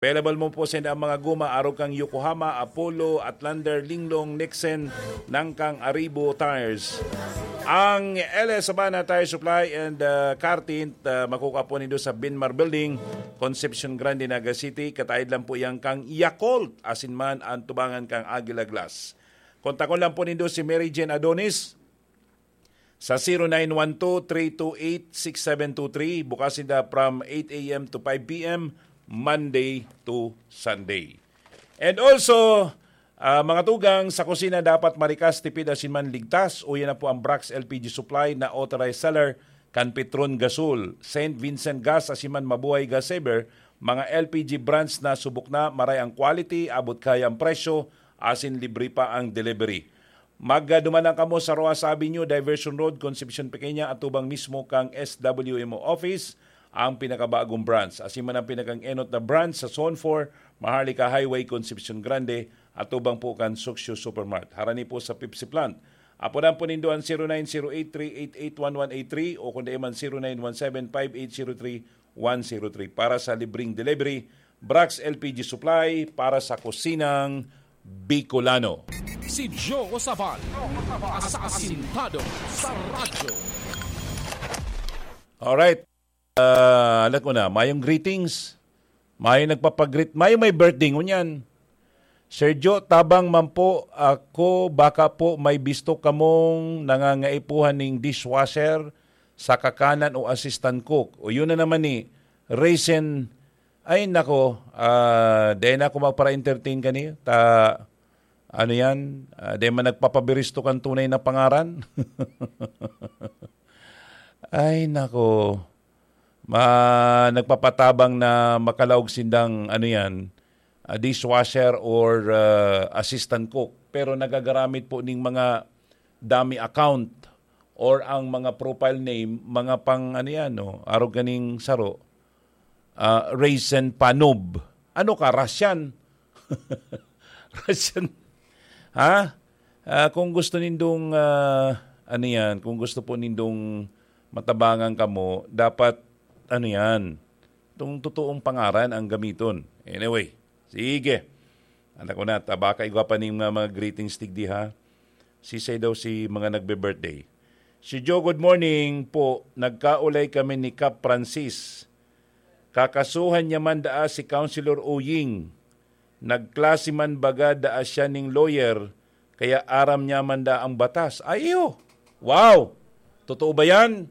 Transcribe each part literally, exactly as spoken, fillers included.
Available mo po sa ang mga guma, arog kang Yokohama, Apollo, Outlander, Linglong, Nixon, nang kang Aribo Tires. Ang L S Sabana Tire Supply and uh, Car Tint, uh, makukuha po nindo sa Binmar Building, Concepcion Grande, Naga City. Kataid lang po yan kang Yakult, asin man ang tubangan kang Aguila Glass. Kontakon lang po nindo si Mary Jane Adonis sa zero nine one two, three two eight, six seven two three. Bukas sinda from eight a m to five p m, Monday to Sunday. And also, ah, mga tugang, sa kusina dapat marikas, tipid, asin man ligtas. Uya na po ang Brax L P G Supply na authorized seller kan Petron Gasol, Saint Vincent Gas, asin man Mabuhay Gas Saver, mga L P G brands na subok na, maray ang quality, abot kaya ang presyo, asin libre pa ang delivery. Magduman lang kamo sa Rojas Avenue, Diversion Road, Concepcion Pequeña, atubang mismo kang S W M O office, ang pinakabagong branch. Asin man ang pinakang-enot na branch sa Zone four, Maharlika Highway, Concepcion Grande, atubang po kan Suksyo Supermart. Harani po sa Pepsi Plant. Apodan po nindo ang zero nine zero eight three eight eight one one eight three o kung di man zero nine one seven five eight zero three one zero three. Para sa libreng delivery, Brax L P G Supply para sa kusinang Bicolano. Si Joe Sabal, asasintado sa radyo. Alright. Ah, alam ko na, mayong greetings. Mayong nagpapagreet, mayong may birthday ngunyan. Sergio, tabang man po ako, baka po may bisto kamong nangangaipuhan ning dishwasher sa kakanan o assistant cook. O yun na naman ni Raisin. Ay nako, ah, dahil na ako magpara-entertain kani. Ta, ano yan? Ah, dahil man nagpapabiristo kang tunay na pangaran? Ay nako. Ma, nagpapatabang na makalaog sindang, ano yan, ah, dishwasher or, ah, assistant cook. Pero nagagaramit po ning mga dummy account or ang mga profile name, mga pang, ano yan, no? Arog kaning saro, ah, Raisin Panob. Ano ka, Russian? Russian? Ha? Ah, kung gusto nindong, ah, ano yan, kung gusto po nindong matabangan kamo, dapat, ano yan, itong totoong pangaran ang gamiton. Anyway, sige. Anak ko na, tabaka igwa pa ning mga, mga greetings digdi, ha? Sisay daw si mga nagbe-birthday. Si Joe, good morning po. Nagkaulay kami ni Kap Francis. Kakasuhan niya man daa si Councilor Uying. Nagklase man baga daa siya ning lawyer, kaya aram niya man daa ang batas. Ay, iyo! Wow! Totoo ba yan?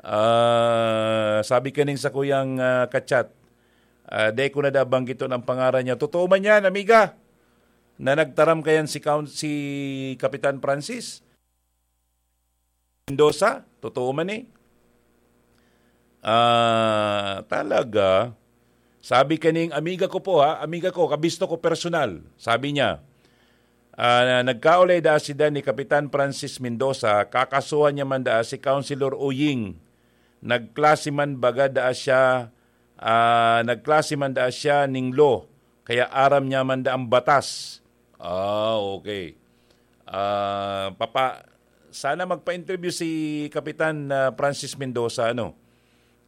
Ah, sabi kaning sa kuyang, ah, kachat, ah, dai ko na da banggiton ang pangaran niya. Totoo man yan, amiga, na nagtaram kayan si Count, si Kapitan Francis Mendoza? Totoo man eh. Ah, talaga. Sabi kaning amiga ko po ha, amiga ko, kabisto ko personal. Sabi niya, ah, nagkaulay daa sida ni Kapitan Francis Mendoza, kakasuhan niya man daa si Councilor Uying. Nagklase man baga daa siya, ah, nagklase man daa siya ning law, kaya aram niya man daa ang batas. Ah, okay. Ah, papa, sana magpa-interview si Kapitan, ah, Francis Mendoza, ano?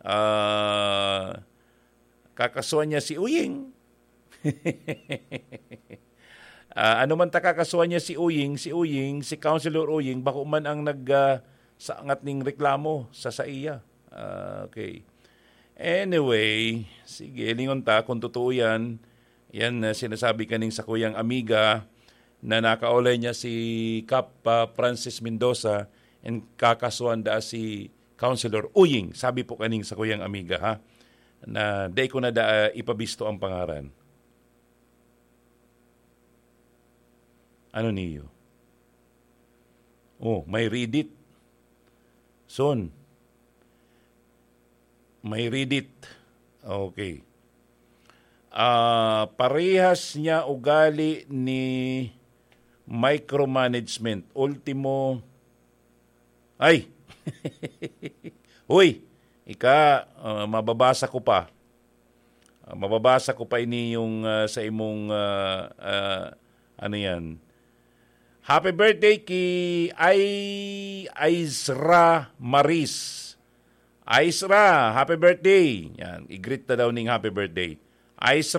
Ah, kakasuhan niya si Uying. Ah, ano man ta kakasuhan niya si Uying, si Uying, si Councilor Uying, bako man ang nag, ah, saangat ning reklamo sa saiya. Ah, okay. Anyway, sige, lingon ta kung totoo yan. Yan, ah, sinasabi kaning sa kuyang amiga na nakaulay niya si Kap, ah, Francis Mendoza and kakasuhan daa si Councilor Uying. Sabi po kaning sa kuyang amiga, ha, na dai ko na daa ipabisto ang pangaran. Ano niyo? Oh, may read it. Son, may read it. Okay. Ah, parehas niya ugali ni micromanagement. Ultimo, ay! Uy! Ika, ah, mababasa ko pa. Ah, mababasa ko pa ini yung, ah, sa imong, ah, ah, ano yan? Happy birthday ki Ay, Aisra Maris. Aisra, happy birthday. Yan, i-greet na daw ning happy birthday. Aisra,